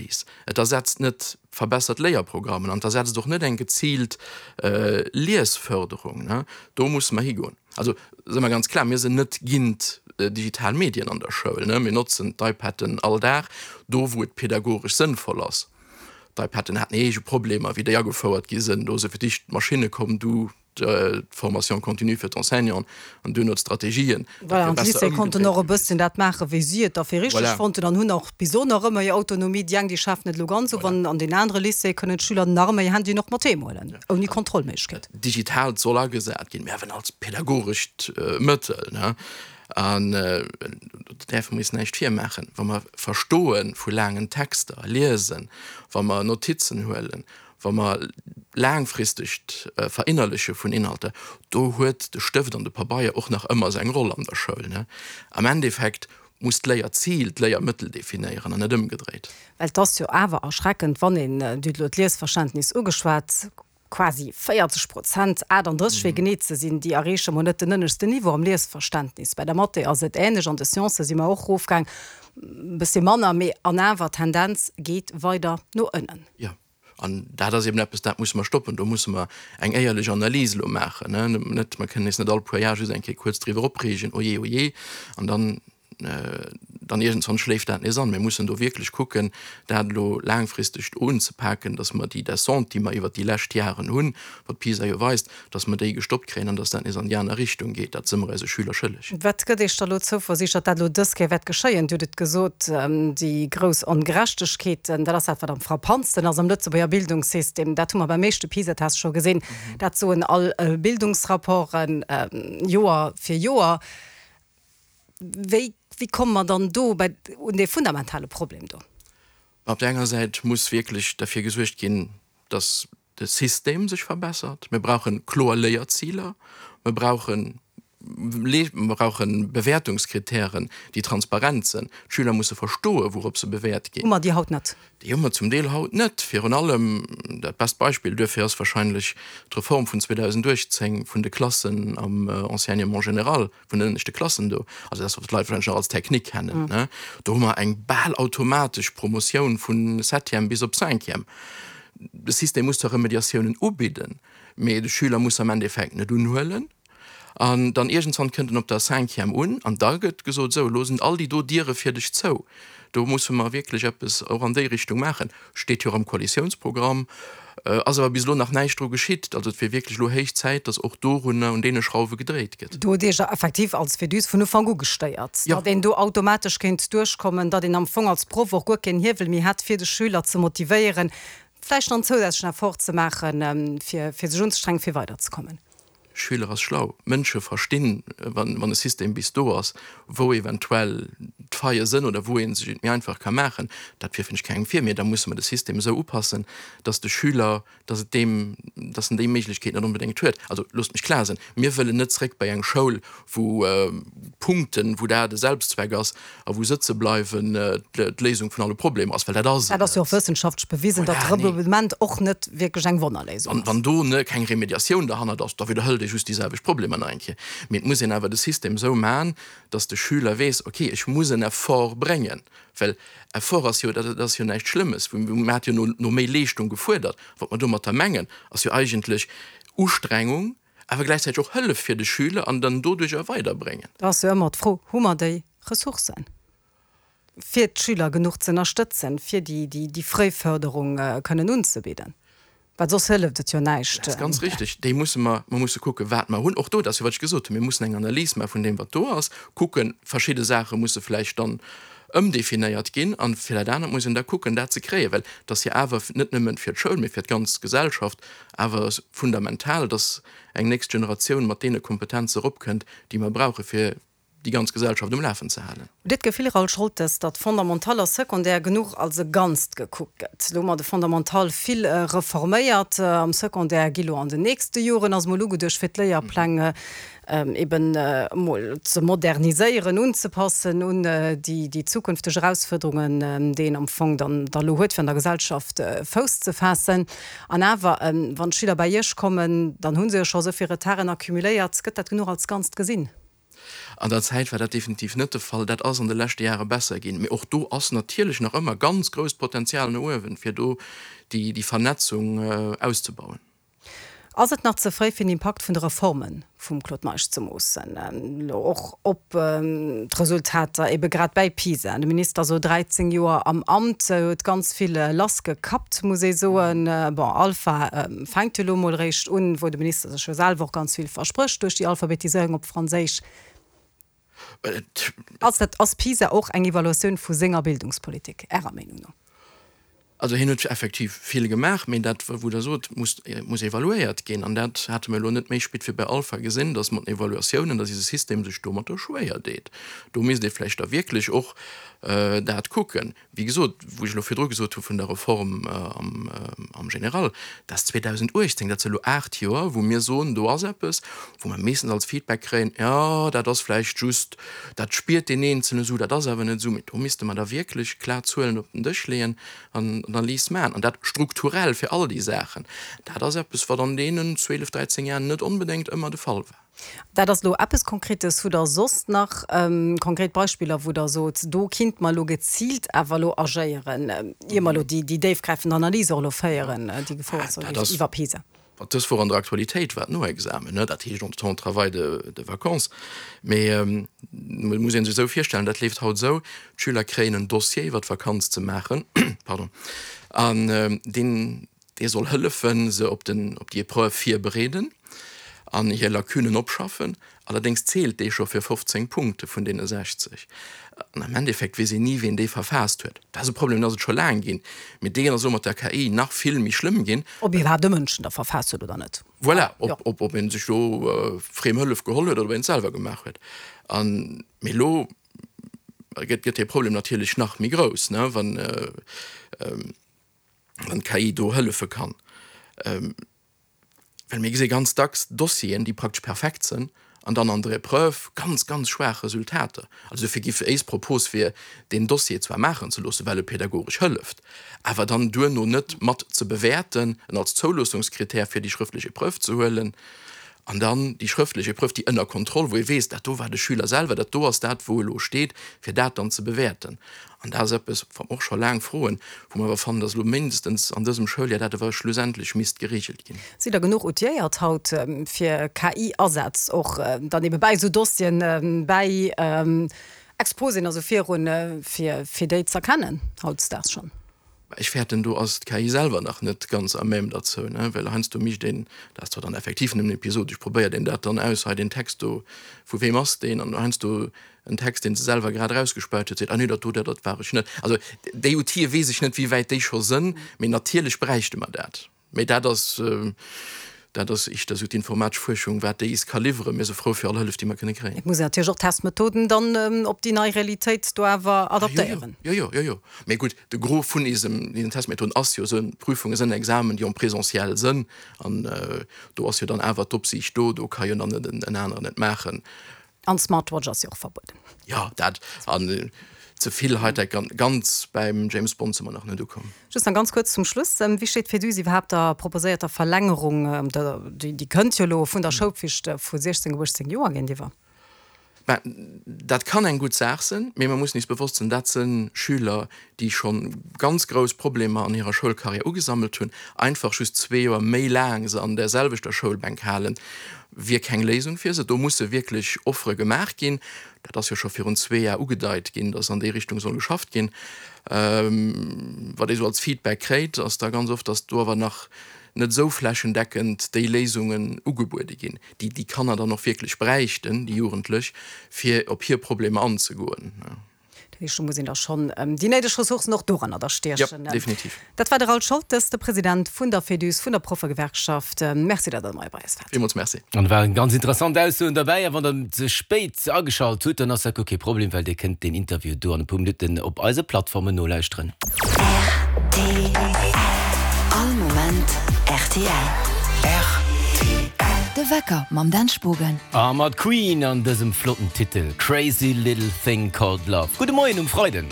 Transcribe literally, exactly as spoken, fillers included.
Analys, et ersetzt net verbessert Léierprogrammen an et ersetzt och net eng geziilt Liesförderung. Do musse mer higoen. Also si mer ganz klar, mir sinn net géint digital Medien an der Schoul. Mir notzen d'IPaden all Dag do, wou et pädagogesch sënnvoll ass. D'IPaden haten eege Problemer, wéi déi agefouert gi sinn. Do si fir d'éischt d'Maschinne komm, du d'Formation continue fir d'Enseignanten an duerno d'Strategien. Voilà, an d'Lycéeë konnten och e bësschen dat maachen, wéi si et da fir richteg fonnten an hunn och bis elo nach ëmmer hir Autonomie. Déi eng, déi schafen et elo ganz of an an den anere Lycéeë kënnen d'Schüler nach ëmmer hir Handyen och mat heem huelen, ouni Kontrollméiglechkeet. Digitaalt soll agesat ginn, mä awer als pädagogescht Mëttel. An do däerfe mer is näischt virmaachen, wa mer Verstoe vu laangen Texter, Liesen, wa mer Notizen huelen, wa mer laangfristegt Verinnerleche vun Inhalter, do huet de Stëft an de Pabeier och nach ëmmer seng Roll an der Schoul. Am Endeffekt muss d'Léierzil d'Léiermëttel definéieren an net ëmgedréit. Well et ass jo awer erschreckend, wann een, Dir hutt elo d'Liesverständnis ugeschwat, quasi véierzeg Prozent, aachtanddrësseg fir genee ze sinn, déi erreeche mol net den ënneschten Niveau am Liesverständnis. Bei der Mathé ass et änlech, an de Sciencë si mer och erofgaang, e bëssi manner, mee an awer d'Tendenz geet weider no ënnen. Jo, an dat ass eben eppes, dat musse mer stoppen. Do musse mer eng éierlech Analys elo maachen. Net, mer kënnen eis net all puer Jar just eng Kéier kuerz driwwer opreegen, Ojee, ojee, an dann dann iergendswann schléift dat nees an. Mir mussen do wierklech kucken, dat elo laangfristeg unzepaken, dass mer déi Descente, déi mer iwwert déi lescht Jaren hunn, wat PISA jo weist, dass mer déi gestoppt kréien an dass dat nees an déi aner Richtung geet. Dat si mer eise Schüler schëlleg. Wat gëtt Iech da elo Zouversiicht, datt dat elo dës Kéier wäert geschéien? Dir hutt et gesot, déi grouss Ongerechtegkeeten, dat ass dat, wat am frappantsten ass am Lëtzebuerger Bildungssystem. Dat hu mer beim éischte PISA-Test scho gesinn. Dat soen all Bildungsrapporten Joer fir Joer. Wéi, wéi komme mer dann do bei, un dee fundamentale Problem do? Op där enger Säit muss wierklech derfir gesuergt ginn, dass de System sech verbessert. Mir brauche kloer Léierziler. Mir brauchen, mir brauche Bewäertungskritären, déi transparent sinn. D'Schüler musse verstoen, wourop se bewäert ginn. Hu mer déi haut net? Déi hu mer zum Deel haut net. Virun allem, dat best Beispill duerfir ass wahrscheinlech d'Reform vun zweedausenduechtzéng vun de Klassen am Enseignement général, vun den ënneschte Klassen do, also dat, wat d'Leit wahrscheinlech nach als Technique kennen, ne, do hu mer eng bal automatesch Promotioun vu Septième bis op Cinquième. De System muss zwar Remediatiounen ubidden, mee de Schüler muss se am Endeffekt net unhuelen. An dann iergendswann kënnt en op der Cinquième un an da gëtt gesot, Sou, elo sinn all déi do Diere fir dech zou. Do musse mer wierklech eppes och an déi Richtung maachen. Steet jo och am Koalitiounsprogramm, ass awer bis elo nach näischt dru geschitt. Also et wier wierklech elo héich Zäit, datt och dorunner, un deene Schrauwe gedréit gëtt. Do hutt Iech effektiv als Féduse vun Ufank u gestéiert, datt een do automatesch kéint duerchkommen, datt een am Fong als Proff och guer keen Hiewel méi hätt, fir de Schüler ze motivéieren, vläicht nach en zousätzlechen Effort ze maachen, fir sech unzestrengen, fir weiderzekommen. Schüler ass schlau. Mënsche verstinn, wann e System bis do ass, wou eventuell d'Faille sënn oder wou ee sech et méi einfach ka maachen. Dat wierfen ech kengem vir, mee da musse mer de System esou upassen, dass de Schüler, dass et deem, dass en déi Méiglechkeet net onbedéngt huet. Also loosst mech klar sinn, Mir wëllen net zréck bei eng Schoul, wou Punkten, wou dat e Selbstzweck ass a wou sëtze bleiwen d'Léisung vun alle Problemer ass, well dat ass et Dat ass jo och net. wëssenschaftlech bewisen, datt Voilà, nee. Redoublement och net wierklech eng Wonnerléisung Wann, ass. wann do ne keng Remediatioun derhannert ass, da widderhëlt ee just déi selwecht Problemer nach eng Kéier. Mee et muss een awer de System esou man, datt de Schüler weess, okay, ech muss en Effort bréngen, well Effort ass jo, dat ass jo näischt Schlëmmes. Mir hat jo no, no méi Leeschtung gefuerdert. Wat mer domatter mengen, ass jo eigentlech Ustrengung, awer gläichzäiteg och Hëllef fir de Schüler an dann doduercher weiderbréngen. Da ass jo ëmmer d'Fro, Hu mer déi Ressourcen, fir d'Schüler genuch ze ënnerstëtzen, fir déi Fréiförderung kënnen unzebidden? Well soss hëlleft et jo näischt. Dat ass ganz richtig. Déi musse mer, mer musse kucken, wat mer hunn. Och do, dat ass jo, wat ech gesot hunn, mir mussen eng Analys maache vun deem, wat do ass, kucken, verschidde Saache musse vläicht dann ëmdefinéiert ginn an fir dat anert muss een da kucken, dat ze kréien, well et ass jo awer net nëmmen fir d'Schoul, mee fir d'ganz Gesellschaft awer fundamental, dass eng nächst Generatioun mat deene Kompetenze eropkënnt, déi mer brauche fir déi ganz Gesellschaft um Lafen ze halen. Hutt Dir d'Gefill, Raoul Scholtes, datt Fondamental a Secondaire genuch als e Ganzt gekuckt gëtt? Elo hu mer de Fondamental vill reforméiert. Am Secondaire gi lo an den nächste Joren, ass mol ugeduecht, fir d'Léierpläng eben emol ze moderniséieren, unzepassen un déi zukünfteg Erausfuerderungen, déi een am Fong dann da elo huet, fir an der Gesellschaft Fouss ze faassen. An awer, wann d'Schüler bei Iech kommen, dann hu se jo scho esou vill Retarden accumuléiert. Gëtt dat genuch als Ganzt gesinn? An der Zäit war dat definitiv net de Fall. Dat ass an de leschte Jahre besser ginn. Mee och do ass natierlech nach ëmmer ganz grousst Potenzial no uewen, fir do déi, déi Vernetzung auszebauen. Ass et nach ze fréi fir den Impakt vun de Reforme vum Claude Meisch ze moossen, elo och op d'Resultater ebe grad bäi PISA? De Minister ass elo dräizéng Joer am Amt, huet ganz vill lassgekappt, muss ee soen. Bon, Alpha fänkt jo elo emol eréischt un, wou de Minister sech jo selwer och ganz vill versprécht duerch déi Alphabetiséierung op Franséisch. Ass dat, ass PISA och eng Evaluatioun vu senger Bildungspolitik, Ärer Meenung no? Also hien huet effektiv vill gemaach, mee dat, wou Der sot, muss, muss evaluéiert ginn. An dat hate mir elo net méi spit wéi bei Alpha gesinn, dass mat den Evaluatiounen, dass eise System sech domatter schwéier deet. Do misst ee vläicht da wierklech och dat kucken. Wéi gesot, wou ech elo virdru gesot hu vun der Reform am, am Général, dat ass zweedausendachtzéng, dat si elo aacht Joer, wou mir soen, do ass eppes, wou mer meeschtens als Feedback kréien, jo, dat ass vläicht just, dat spiert deen Eenzelen esou, dat ass awer net esou. Mee do misste mer da wierklech klar Zuelen op den Dësch leeën an Analys maachen, an dat strukturell fir all déi Saachen. Dat ass eppes, wat an deenen zwielef, dräizéng Jahren net onbedéngt ëmmer de Fall war. Dat ass elo eppes Konkretes. Hutt Der soss nach konkret Beispiller, wou Der sot, do kinnt mer elo geziilt awer elo agéieren, ier mer elo déi déifgräifend Analys och elo féieren, déi gefouert soll ginn iwwer PISA? Wat dës Woch an der Aktualitéit war, d'Noexamen, dat heescht entre-temps travail de de vacances. Mee et muss ee sech esou virstellen, dat leeft haut esou, D'Schüler kréien en Dossier iwwer d'Vakanz ze maachen, pardon, an deen dee soll hëllefen, se op den op déi Epreuve virbereeden an hir Lacunen opschaffen. Allerdéngs zielt dee scho fir fofzéng Punkte vun deene sechzeg. An am Endeffekt weess een ni, wien dee verfaasst huet. Dat ass e Problem, deen ass et scho laang ginn, mee deen ass elo mat der K I nach vill méi schlëmm ginn. Ob iwwerhaapt e Mënsch en da verfaasst huet oder net. Voilà, ob, ob ee sech do friem Hëllef geholl huet oder ob een et selwer gemaach huet. An, mee elo gëtt, gëtt dee Problem natierlech nach méi grouss, ne, wann, wann d'K I do hëllefe kann. Well mir gesi ganz dacks Dossieren, déi praktesch perfekt sënn, an dann an der Epreuve ganz, ganz schwaach Resultater. Also dofir giff éis Propos wier, deen Dossier zwar maachen ze loossen, well e pädagogesch hëlleft, awer dann duerno net mat ze bewäerten, en als Zouloossungskrittär fir déi schrëftlech Epreuve ze huelen, an dann déi schrëftlech Epreuve, déi ënner Kontroll, wou ee weess, dat do war de Schüler selwer, dat do ass dat, wou elo steet, fir dat dann ze bewäerten. An dat ass eppes, wat mer och scho laang froen, wou mer awer fannen, dass elo mindestens an dësem Schouljar dat awer schlussendlech misst geregelt ginn. Sidd Der genuch outiléiert haut fir K I-Asätz och dann ebe bäi esou Dossieren, bäi Exposéen a sou virun, fir fir déi z'erkennen hautdesdaags schonn? Ech fäerten, do ass d'K I selwer nach net ganz à même derzou, ne, well heiansdo mécht een, dat ass zwar dann effektiv nëmmen episodesch, probéiert een dat dann aus, hei deen Text do, vu weem ass deen? An heiansdo en Text, deen se selwer grad erausgespäut huet, seet, ah nee, dat do, dat dat war ech net. Also déi Outile weess ech net, wéi wäit déi scho sënn, mee natierlech bräichte mer dat. Mee dat ass, dat ass éischter esou d'informatesch Fuerschung, wat déi is ka liwweren. Mir si frou fir all Hëllef, déi mer kënne kréien. Et muss een natierlech och d'Testmethoden dann op déi nei Realitéit do awer adaptéieren. Jo, jo, jo, jo. Mee gutt, de Gros vun isem, diesen Testmethoden ass jo esou Prüfunge sënn, Examen, déi en présentiel sënn. An do ass jo dann awer d'Opsiicht do, do ka jo dann net en aneren et maachen. An d'Smartwatch ass jo och verbueden. Jo, dat an ze vill Hightech, ganz beim James Bond si mer nach net ukomm. Just nach ganz kuerz zum Schluss, Wéi steet d'Féduse iwwerhaapt der proposéierter Verlängerung, déi kënnt jo elo, vun der Schoulpflicht vu siechzéng op uechtzéng Joer géintiwwer? Ben, dat kann eng gutt Saach sinn, mee mer mussen eis bewosst sinn, dat si Schüler, déi scho ganz grouss Problemer an hirer Schoulcarrière ugesammelt hunn. Einfach just zwee Joer méi laang se an där selwechter Schoulbänk halen, wier keng Léisung fir se. Do musse wierklech Offere gemaach ginn. Dat ass jo scho virun zwee Jar ugedeit ginn, datt an déi Richtung soll geschafft ginn. Wat ee sou als Feedback kréit, ass da ganz oft, datt do awer nach net esou flächendeckend déi Léisungen ugebuede ginn, déi déi Kanner dann och wierklech bräichten, déi Jugendlech, fir op hir Problemer anzegoen. Dat heescht, do muss een da schonn déi néideg Ressourcen och doranner da stiechen. Jo, definitiv. Dat war de Raoul Scholtes, de President vun der Féduse, vun der Proffegewerkschaft. Merci, datt Der hei bei eis waart. Villmools merci. An et waren ganz interessant Aussoen derbäi. A wann Der ze spéit ageschalt hutt, dann ass dat guer kee Problem, well Dir kënnt deen Interview do an e puer Minutten op eise Plattformen nolauschteren. Rtl, All Moment rtl. Rtl. De Wecker mam Dan Spogen. A mat Queen an dësem flotten Titel Crazy Little Thing Called Love. Gudde Moien um Freiden.